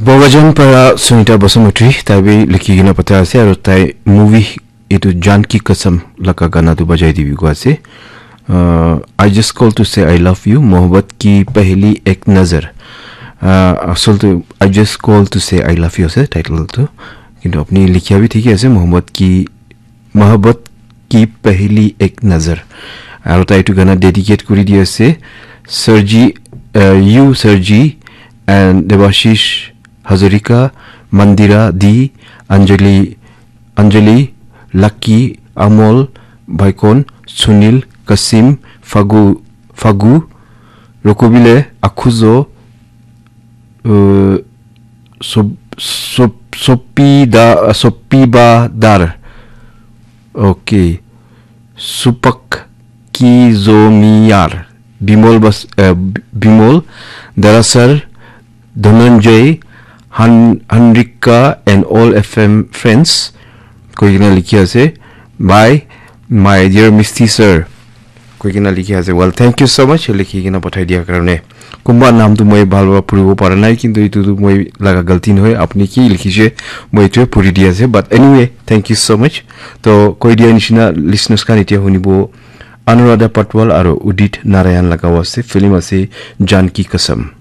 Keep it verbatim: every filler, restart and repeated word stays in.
Bogajan para Sunita Basumatary, tai bi likhi kena pathai ase, aru tai movie etu Jaan Ki Kasam laga gana tu bajai dibi koi ase. Uh, I just call to say I love you, Mohabbat Ki Pehli Ek Nazar. Uh, asol tu I just call to say I love you ase title tu. Kintu apni likhia bi thik ase, Mohabbat Ki, Mohabbat Ki Pehli Ek Nazar. Aru tai etu gana dedicate kuri di ase Sir G, uh, you Sir G and Debashish Hazarika, Mandira D, Anjali, Anjali, Lucky, Amol, Baikon, Sunil, Kasim, Fagu, Fagu, Rokubile, Akhuzo, uh, Sob-, Sob-, Sopida, Sopiba Dar. Okay. Supak Kizomiyar. Bimol Bas-, uh, Bimol, Darasar, Dhananjay, Han-, Hanrika and all F M friends. Koi kena likhi ase. Bye, my dear Misty sir. Koi kena likhi ase. Well, thank you so much. Likhi kena pathai dia karone. Kumba naam tu moi bhal para puribo para nai, kintu itu tu moi laga galti nohoi. Apni ki likhi je, moi itu puri dia ase. But anyway, thank you so much. To koi dia nishina listeners khan itia hunibo Anuradha Patwal aro Udit Narayan laga ase. Film ase Jaan Ki Kasam.